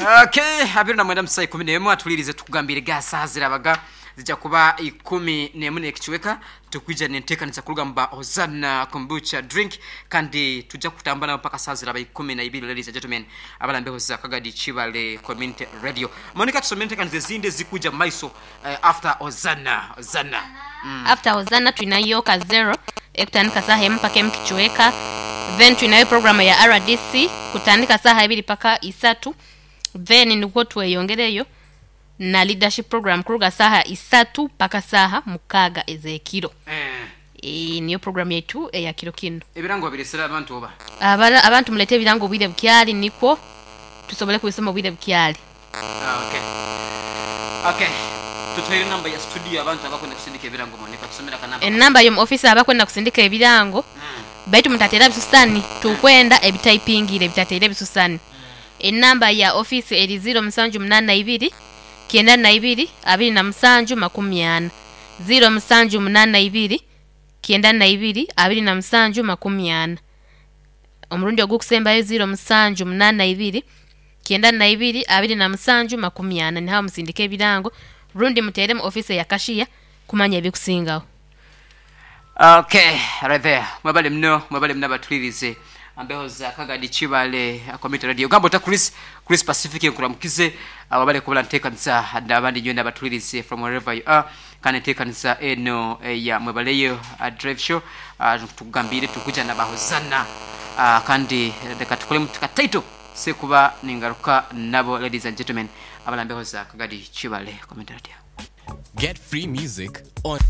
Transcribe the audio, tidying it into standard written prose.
Okay, 29 mu saa 11 atulirize tukugambire ga saaha zirabaga zijja kuba 11 n'ekicweka. Tukwija n'enteekaniza kuruga mu ba Hosanna Kombucha drink, kandi tujja kutambura nabo paka saaha ziraba 12. Ladies and gentlemen, abalambeho za Kagadi Kibale Community Radio. Monica, tusomere enteekaniza ezindi ezikuja mu maiso after Hosanna. Hosanna. After Hosanna twinayo ka zero ekutandika saaha emu paka emu kicweka, then twinayo program ya rdc kutandika saaha ibiri paka isatu, then nikwo tweyongereyo na leadership program kuruga saaha isatu paka saaha mukaaga ez'ekiro. Niyo program yaitu eya kiro kinu. Ebirango wabiresere abantu oba? Abantu mulete ebirango obwire bukyali nikwo tusobole kubisoma obwire bukyali. Okay. Okay. Tutuhaire enamba ya studio abantu abakwenda kusindika ebirango Monica tusomere akanamba kanu. Enamba y'omu office abakwenda kusindika ebirango baitu mutateera bisusani tukwenda ebitaipingire ebitateire bisusani. Enamba ya office eri ziiro musanju munaana ibiri, kyenda na ibiri, abiri na musanju makumi ana. Ziiro musanju munaana ibiri, kyenda na ibiri, abiri na musanju makumi ana. Omurundi ogukusembayo ziiro musanju munaana ibiri, kyenda na ibiri, abiri na musanju makumi ana. Ni agho musindike ebirango rundi muteere mu office eya kashiya kumanya ebikusingagho. Okay, right there. Mwebale muno, mwebale muno abatulirize ambeho za Kagadi Kibale Community Radio. Gamba ota Chris, Chris Pacific nkuramukize wabale kubala ntekanisa n'abandi nyowe n'abatulirize from wherever you are. Kandi entekanisa eno eya Mwebaleyo Drive Show tukugambire tukuja na Bahozana kandi leka tukolemu kataito sekuba ningaruka nabo, ladies and gentlemen, abalambeho za Kagadi Kibale Community Radio. Get free music on.